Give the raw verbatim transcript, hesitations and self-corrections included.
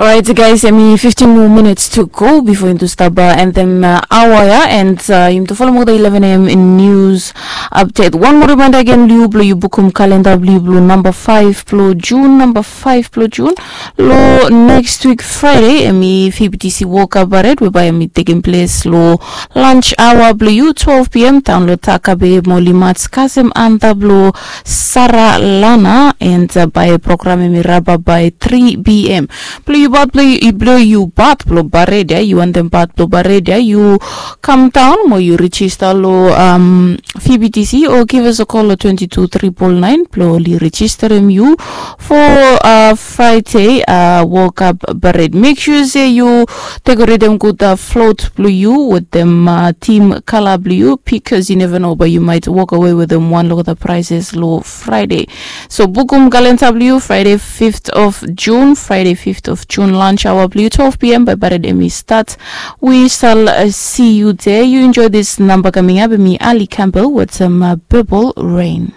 Alright, guys, I mean, fifteen more minutes to go before into staba and then uh, hour, yeah, and uh, you to follow more the eleven a.m. in news update. One more reminder again, Liu, blo you bukum calendar, Liu, blo number five, blo June, number five, blo June. Lo next week Friday, emi F B T C World Cup parade, whereby emi taking place lo lunch hour, blo you twelve p.m. down lo Takabe Moli Mats Kasem and the blo Sara Lana and uh, by program emi raba by three p.m. Blo you bat blo you bat blo baredia, you want them bat blo baredia, you come down mo you register lo um, F B T C or give us a call lo twenty two triple nine blo li register em you for uh, Friday uh, World Cup parade. Make sure say you decorate them good uh, float blo you with them uh, team color blo you because you never know but you might walk away with them one look at the prices lo Friday. So bukum calendar blo you Friday fifth of June, Friday fifth of June lunch hour blo you twelve p.m. by parade emi start. We shall uh, see you there. You enjoy this number coming up. Me Ali Campbell with some uh, purple rain.